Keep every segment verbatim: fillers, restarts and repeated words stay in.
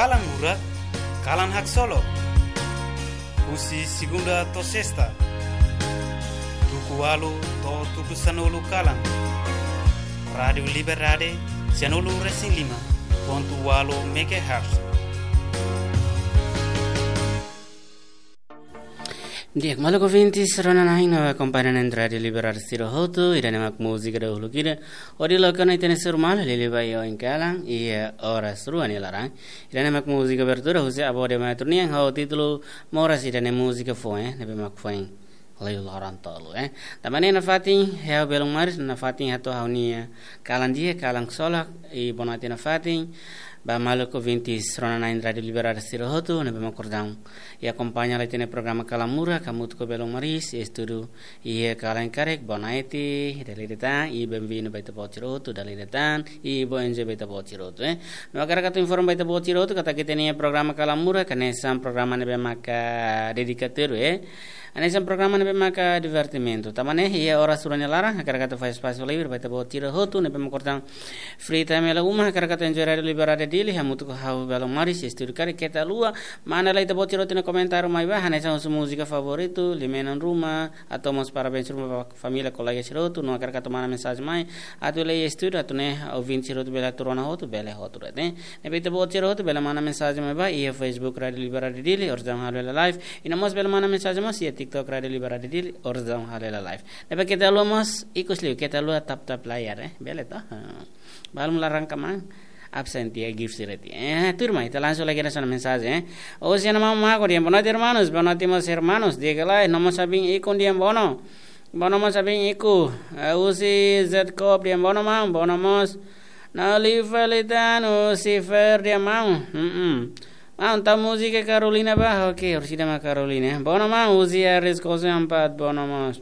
Kalan Murak, kalan haksolok. Husi segunda to'o sesta, tuku ualu to'o tuku sanulu kalan. Rádiu Liberdade, sianulu resin lima pontu ualu megahertz. Di'ak, maluk ouvintes rona-na'in no akompaña Rádiu Liberdade sira hotu, ida-ne'e mak múzika dahuluk ida hodi loke ona ita-nia suru malu liuliu ba iha oin kalan, iha oras rua nia laran. Ida-ne'e mak múzika abertura husi Avó de Maestro nian ho títulu Moras, ida-ne'e múzika foin, eh, ne'ebé mak foin liu loron tolu, eh. Tanba ne'e nafatin, ha'u belun maris, nafatin hato'o ha'u-nia kalan di'ak, kalan haksolok, i bonoite nafatin ba maluk ouvintes rona-na'in Rádiu Liberdade sira hotu, ne'ebé mak orsida akompaña hela ita-nia programa Kalan Murak, hamutuk ho belun maris, estúdiu iha kalan karik, bonoite, dala ida tan, i benvindu ba ita-boot sira hotu, dala ida tan, i bom dia ba ita-boot sira hotu, eh. No hakarak atu informa ba ita-boot sira hotu katak ita-nia programa Kalan Murak hanesan programa ne'ebé maka dedikadu, eh. Hanesan programa ne'ebé maka divertimentu. Tanba ne'e, iha oras rua nia laran, hakarak atu fó espasu livre ba ita-boot sira hotu ne'ebé mak orsida free time hela uma, hakarak atu enjoy Rádiu Liberdade Dili, hamutuk ho ha'u belun maris, estúdiu karik, keta haluha manda lai ita-boot sira hotu nia komentáriu mai ba, hanesan husu múzika favoritu, liu-menon ruma, atu mós parabéns ruma ba família, kolega sira hotu, no hakarak atu manda mensajen mai, atu lei estúdiu, atu nune'e ouvinte sira hotu bele atu rona hotu, bele hotu de'it, eh. Ne'ebé ita-boot sira hotu bele manda mensajen mai ba iha Facebook Rádiu Liberdade Dili, orsida halo hela live, i no mós bele manda mensajen mós iha TikTok Rádiu Liberdade Dili, orsida halo hela live. Ne'ebé keta haluha mós, ikus liu, keta haluha tap-tap layar, eh. Bele to? Ha. Balun laran kaman, absen tiha, gift sira tiha. Eh, tuirmai, ita langsung lagi hanesan mensajen, eh. Husi Ana Mama Mago dehan, boa noite, irmãos. Boa noite, meus irmãos. Di'ak ka lae? Nomor Sabin Ikun dehan bono. Bono mós Sabin Iku. Eh, husi Jacob dehan bono, maun, bono mós. No liu fali tan, husi Fer dehan maun. Mm-mm. Maun, tau múzika Carolina ba? Oke, orsida mak Carolina. Bono maun, husi Aris Kosu Ampat, bono mós.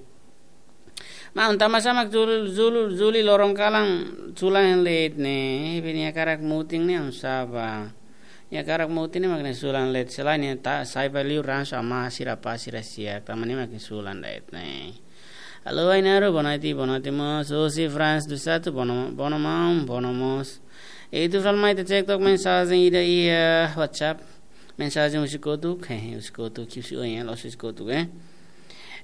Maun, tanba sá mak Jul-, Jul-, Juli loron kalan sulan late ne'e, be nia hakarak mutin ne'e oinsá ba. Nia hakarak mutin ne'e mak nia sulan late, selae nia ta-, sai ba liur ransu ama sira pa sira sia, tanba ne'e mak nia sulan late ne'e. Alô, Ainaro, boa noite, boa noite mós. Husi Franz do Sato, bono, bono maun, bono mós. Ita fila mai ita cek tok mensajen ida iha WhatsApp. Mensajen husi kotuk, hehe, husi kotuk, husi oin, la'ós husi kotuk, eh.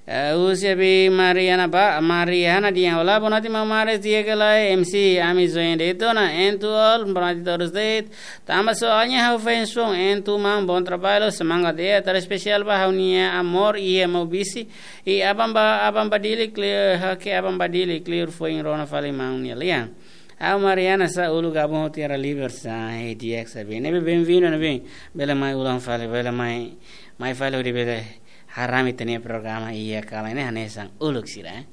Eh, husi Abi Mariana ba, Mariana dehan, olá, boa noite, maun Maris, di'ak ka lae, M C, ami join de'it ona, en tu all, boa noite todos de'it. Tanba soalnya ha'u fans foun, en tu maun, bom trabalho, semangat de'it, atu espesiál ba ha'u-nia amor, iha Maubisse, i aban ba, aban ba Dili, clear, hake aban ba Dili, clear foin rona fali maun nia lian. Ha'u Mariana sá uluk gabung ho Tiara Liber sá, eh, di'ak Sabin. Ne'ebé benvindu, ne'ebé bele mai ulang fali, bele mai, mai fali hodi bele harami ita-nia programa iha kalan ne'e hanesan uluk sira, eh.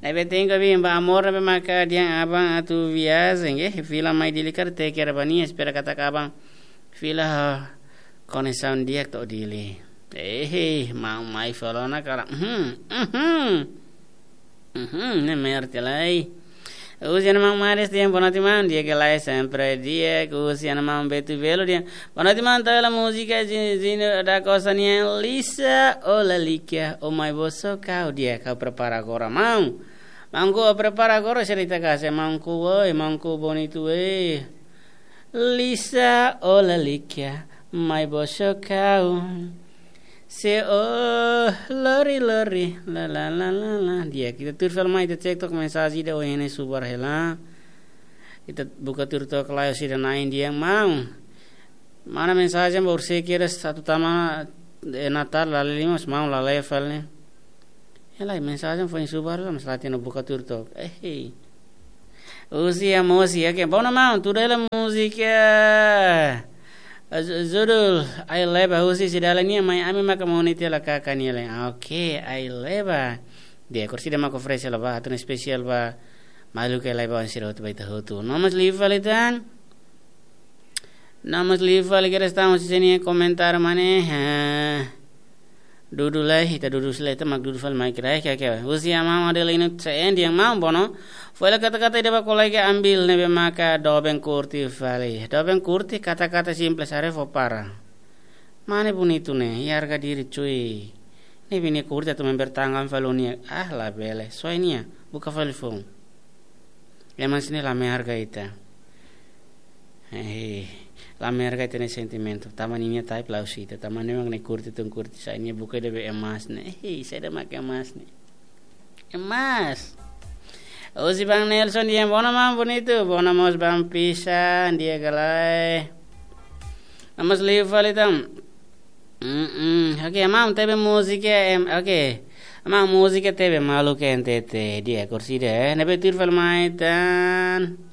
Ne'ebé tenke bin ba amor ne'ebé maka dehan aban atu viajen, eh, fila mai Dili karik, te kera bani, espera katak aban fila ho koneksaun di'ak to'o Dili. Eh, maun mai fali ona karik. Mhm, mhm. Mhm, ne'e merti lai. Husi Ana Maun Maris dehan boa noite maun, di'ak ka lae, sempre di'ak. Husi Ana Maun Betu Belo dehan boa noite maun, tau hela múzika Zi-, Zino da Costa nian Lisa, o Lalika, o mai boso kau, di'ak, ha'u prepara agora maun. Maun, ha'u prepara agora, serita kase maun, oi, maun, bonitu, eh. Lisa, o Lalika, mai boso kau. Se o lori lori, la la la la la. Di'ak, ita tuir fali mai, ita cek tok mensajen ida ohin ne'e subar hela. Ita buka tuir tok lai, orsida na'in dehan maun. Mana mensajen ba orsida kira satu tama, eh, Natal, la lima, maun la lee fali ne'e. Hela, mensajen foin subar la, mas la hatene, buka tuir tok. Eh, hei. Husi Amosi, oke. Bono maun, tuda hela múzika. Eh, ju-, judul Ai Leba, husi Sidala nian, mai ami maka moni tela kaka nia le. Ah, oke, Ai Leba. Di'ak, orsida maka oferese hela ba, atu espesiál ba maluk Ai Leba, oin sira hotu ba ita hotu. No mós liu fali tan. No mós liu fali, kira estamos sini komentar mane. Eh, dudu lai, ita dudu sila, ita mak dudu fali mai kira, oke, oke. Husi Ana Maun Adelino C N dehan maun bono. Fó hela kata-kata ida ba kolega Ambil ne'ebé maka doben kurti fali. Doben kurti, kata-kata simples, haree fó para. Mane bonitu ne'e, i harga diri cuy. Ne'ebé nia kurti atu membertanggung fali nia. Ah, labele. Soe nia, buka fali foun. Ema sini la menghargai ita. Eh, Lamer ka ita-nia sentimentu. Tanba ninia type la'ós ita. Tanba ne'e mak nia kurti tun kurti sai. Nia buka ida be emas ne'e. Hei, sai ida mak emas ne'e. Emas. Osi Bang Nelson di'ak, bona maun bonitu. Bona mós Bang Pisa, di'ak ka lae. Amas liu fali tan. Mm-mm. Oke, maun tebe múzika, em, oke. Maun múzika tebe malu ke N T T. Di'ak, korsida, eh. Ne'ebé tuir fali mai tan.